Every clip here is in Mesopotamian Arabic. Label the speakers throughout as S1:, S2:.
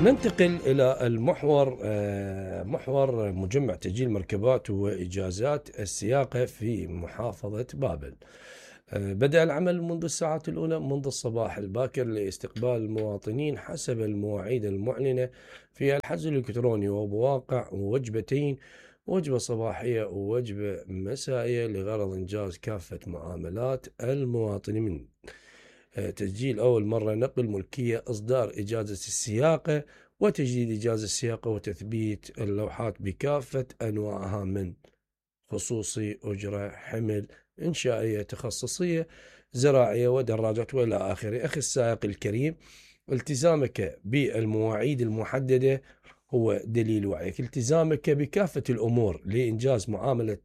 S1: ننتقل إلى المحور محور مجمع تسجيل مركبات وإجازات السياقة في محافظة بابل. بدأ العمل منذ الساعات الأولى منذ الصباح الباكر لاستقبال المواطنين حسب المواعيد المعلنة في الحجز الإلكتروني، وبواقع وجبتين، وجبة صباحية ووجبة مسائية، لغرض إنجاز كافة معاملات المواطنين. من تسجيل أول مرة، نقل ملكية، إصدار إجازة السياقة وتجديد إجازة السياقة وتثبيت اللوحات بكافة أنواعها، من خصوصي، أجرة، حمل، إنشائية، تخصصية، زراعية، ودراجات وإلى آخره. أخي السائق الكريم، التزامك بالمواعيد المحددة هو دليل وعيك. التزامك بكافة الأمور لإنجاز معاملة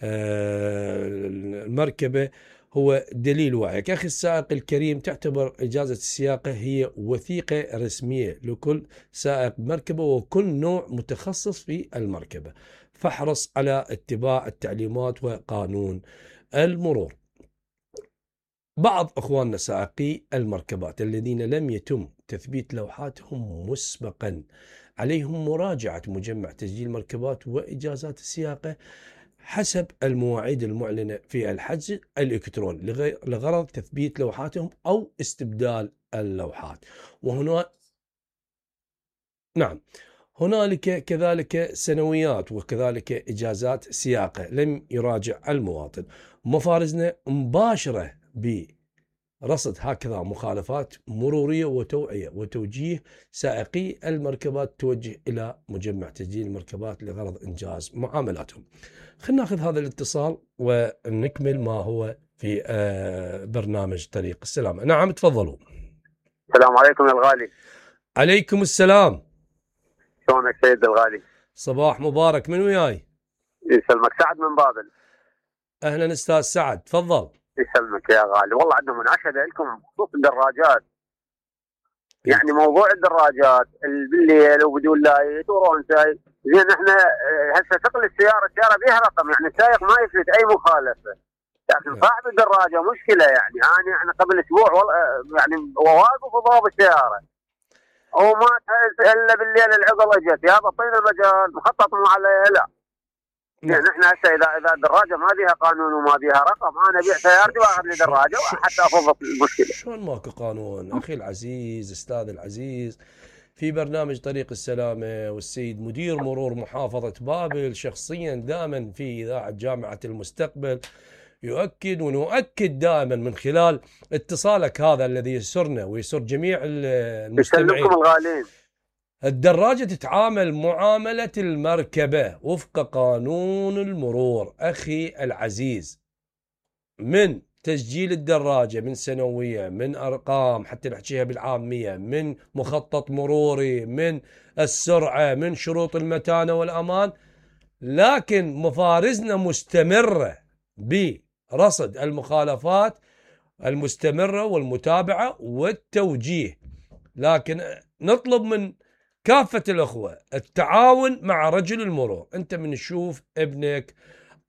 S1: المركبة هو دليل وعيك. أخي السائق الكريم، تعتبر إجازة السياقة هي وثيقة رسمية لكل سائق مركبة وكل نوع متخصص في المركبة، فاحرص على اتباع التعليمات وقانون المرور. بعض أخواننا سائقي المركبات الذين لم يتم تثبيت لوحاتهم مسبقا، عليهم مراجعة مجمع تسجيل مركبات وإجازات السياقة حسب المواعيد المعلنة في الحجز الإلكتروني لغرض تثبيت لوحاتهم أو استبدال اللوحات. هنالك كذلك سنويات وكذلك إجازات سياقة لم يراجع المواطن. مفارزنا مباشرة برصد هكذا مخالفات مرورية وتوعية وتوجيه سائقي المركبات توجه إلى مجمع تسجيل المركبات لغرض إنجاز معاملاتهم. خلينا ناخذ هذا الاتصال ونكمل ما هو في برنامج طريق السلامة. نعم، تفضلوا.
S2: السلام عليكم يا الغالي.
S1: عليكم السلام.
S2: شلونك سيد الغالي؟
S1: صباح مبارك. من وياي؟
S2: يسلمك، سعد من بابل.
S1: أهلا أستاذ سعد، تفضل.
S2: يسلمك يا غالي. والله عندنا مناشدة لكم بخصوص الدراجات. يعني موضوع الدراجات بالليل وبدون لايت ورونساي، زين احنا هسه ثقل السيارة بيها رقم، يعني السائق ما يفلت أي مخالفة، لكن صاحب الدراجة مشكلة. يعني أنا قبل أسبوع والله يعني واقف وضرب السيارة وما الا بالليل العقل اجت، يا بطينا المجال مخطط مو عليها. لا يعني احنا هسه اذا الدراجه ما بيها قانون وما بيها رقم، انا ابيع سيارتي واخذ لي دراجه حتى افضل المشكله.
S1: شلون ماكو قانون؟ اخي العزيز، استاذ العزيز، في برنامج طريق السلامه والسيد مدير مرور محافظه بابل شخصيا دائما في اذاعه جامعه المستقبل يؤكد ونؤكد دائما من خلال اتصالك هذا الذي يسرنا ويسر جميع المستمعين.
S2: الغالين،
S1: الدراجة تتعامل معاملة المركبة وفق قانون المرور. أخي العزيز، من تسجيل الدراجة، من سنوية، من أرقام حتى نحكيها بالعامية، من مخطط مروري، من السرعة، من شروط المتانة والأمان، لكن مفارزنا مستمرة برصد المخالفات المستمرة والمتابعة والتوجيه. لكن نطلب من كافة الأخوة التعاون مع رجل المرور. أنت من تشوف ابنك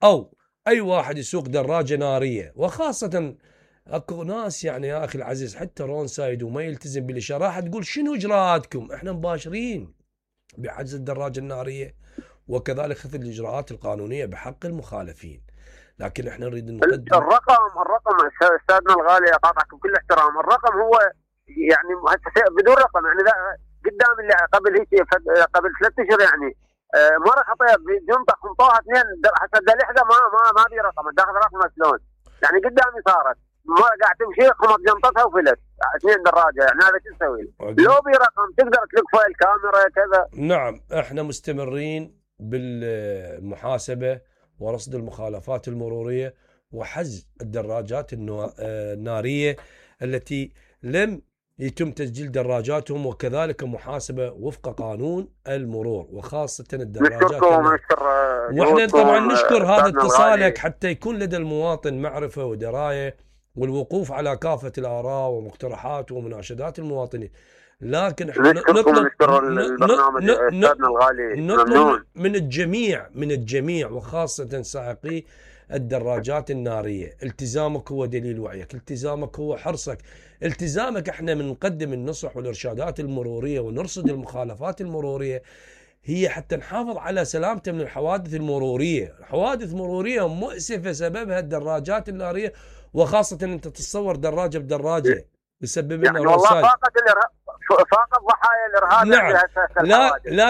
S1: أو أي واحد يسوق دراجة نارية، وخاصة أكو ناس يعني يا أخي العزيز حتى رون سايد وما يلتزم بالإشارة، راح تقول شنو إجراءاتكم؟ إحنا مباشرين بحجز الدراجة النارية وكذلك خذ الإجراءات القانونية بحق المخالفين. لكن إحنا نريد نقدم
S2: الرقم أستاذنا الغالي، أقاطعكم بكل احترام. الرقم هو يعني بدون رقم، يعني قدام اللي قبل 3 أشهر يعني مرة خطيت بجنطة خنطوها 2 حتى الدليحة ما بي رقم، داخل رقم شلون يعني قدامي صارت ما قاعد تمشي خمط جنطتها وفلت 2 دراجة، يعني هذا شو نسوي؟ لو بي رقم تقدر تلقى الكاميرا كذا.
S1: نعم، احنا مستمرين بالمحاسبة ورصد المخالفات المرورية وحجز الدراجات النارية التي لم يتم تسجيل دراجاتهم، وكذلك محاسبة وفق قانون المرور وخاصة الدراجات. واحنا طبعا نشكر هذا اتصالك حتى يكون لدى المواطن معرفة ودراية والوقوف على كافة الآراء ومقترحات ومناشدات المواطنين. لكن احنا نطلب من الجميع وخاصة سائقي الدراجات النارية. التزامك هو دليل وعيك، التزامك هو حرصك، التزامك. احنا من نقدم النصح والإرشادات المرورية ونرصد المخالفات المرورية هي حتى نحافظ على سلامته من الحوادث المرورية. حوادث مرورية مؤسفة سببها الدراجات النارية، وخاصة انت تتصور دراجة بدراجة يسبب لنا
S2: يعني والله
S1: رصاص.
S2: فاقت ضحايا الارهاب.
S1: نعم. لا